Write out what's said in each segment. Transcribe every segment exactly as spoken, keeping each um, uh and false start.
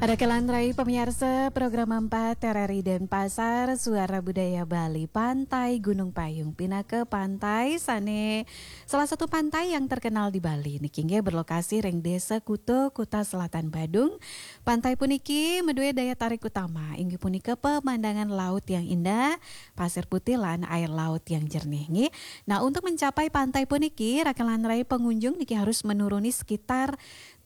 Raka lan rai pamiarsa program empat R R I Denpasar, Suara Budaya Bali, Pantai Gunung Payung, pinaka pantai sane salah satu pantai yang terkenal di Bali. Niki nggih berlokasi ring Desa Kuta, Kuta Selatan Badung. Pantai puniki madue daya tarik utama, inggih punika pemandangan laut yang indah, pasir putih lan air laut yang jernih, nggih. Nah, untuk mencapai pantai puniki, raka lan rai pengunjung niki harus menuruni sekitar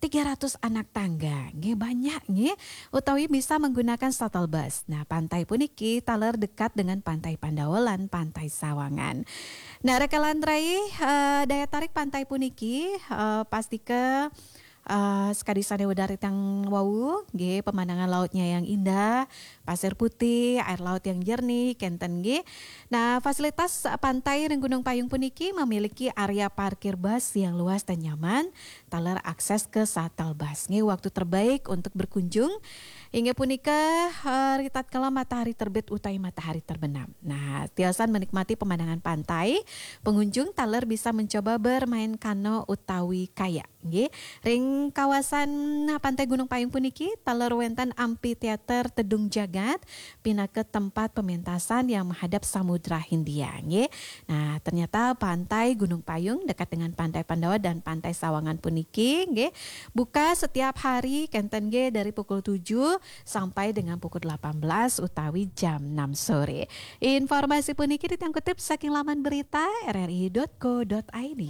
tiga ratus anak tangga, nggih, banyak, nggih, utawi bisa menggunakan shuttle bus. Nah, pantai puniki taler dekat dengan Pantai Pandawa lan Pantai Sawangan. Nah, raka lan rai, eh, daya tarik pantai puniki, eh, pastika, eh, sakadi sane udaritang wau, nggih, pemandangan lautnya yang indah, pasir putih, air laut yang jernih, kenten, nggih. Nah, fasilitas pantai ring Gunung Payung puniki memiliki area parkir bus yang luas dan nyaman, taler akses ke shuttle bus. Nggih, waktu terbaik untuk berkunjung inggih punika, eh, ritatkala matahari terbit utawi matahari terbenam. Nah, tiosan menikmati pemandangan pantai, pengunjung taler bisa mencoba bermain kano utawi kayak. Nggih, ring kawasan Pantai Gunung Payung puniki taler wenten amphitheater Tedung Jagat pinaka tempat pementasan yang menghadap Samudra Hindia, nggih. Nah, ternyata Pantai Gunung Payung dekat dengan Pantai Pandawa dan Pantai Sawangan puniki, nggih, buka setiap hari, kenten, nggih, dari pukul tujuh sampai dengan pukul delapan belas utawi jam enam sore. Informasi puniki ditangkutip saking laman berita R R I dot co dot I D.